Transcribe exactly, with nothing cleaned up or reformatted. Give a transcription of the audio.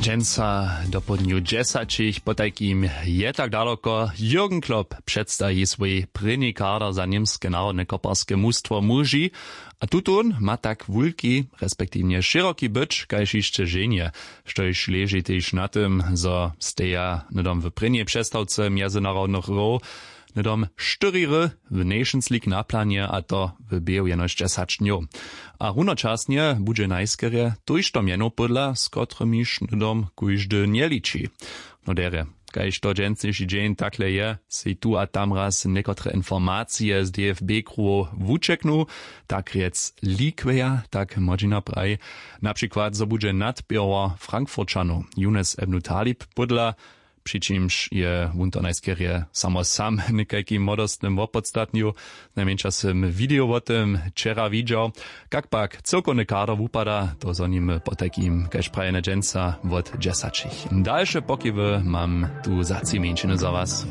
Dźensa dopołdnju dźesaćich potajkim je tak daloko. Jürgen Klopp předstaji swój prěni kader za němske narodne koparske mustwo muži. A tutón ma tak wulki respektiwnje šěroki być kaž hišće ženje, štož leži tež na tym, zo steja hnydom w prěnjej přestawce mjezynarodnych hrow hnydom štyri hry w Nations League na planje, a to w běhu jenož dźesać dnjow. A runočasnje budźe najskerje tójšto mjenow pódla, z kotrymiž hnydom kóždy njeliči. No derje, kaž to dźensniši dźeń takle je, sej tu a tam raz někotre informacije z D F B kruhow wučeknu, tak rjec likweja, tak młodźina praji. Na přikład zo budźe nadpěro Frankfurćanow Younes Ebnu Talib pódla, při čimž je wón to najskerje samo sam w někajkim młodostnym wopodstatnju. Znajmjeńša sym video wo tym wčera widźał. Kak pak cyłkowny kader wupada, to zhonimy potajkim kaž prajene dźensa wot dźesaćich. Dalše pokiwy mam tu za tři mjeńšiny za was.